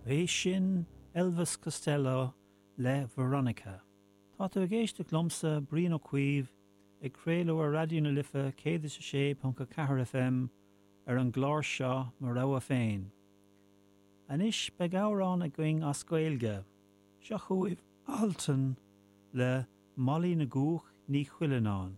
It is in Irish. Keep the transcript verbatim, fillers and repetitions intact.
É sin Elvis Costello le Veronica. Tá tú ag éisteacht liomsa Brian Ó Cuív ag craoladh ar Raidió na Life céad is a sé ponc a ceathair FM ar an gclár seo Mo Rogha Féin. Anois beidh amhrán againn as Gaeilge, seo chugaibh Altan le Molly na gCuach Ní Chuilleanáin.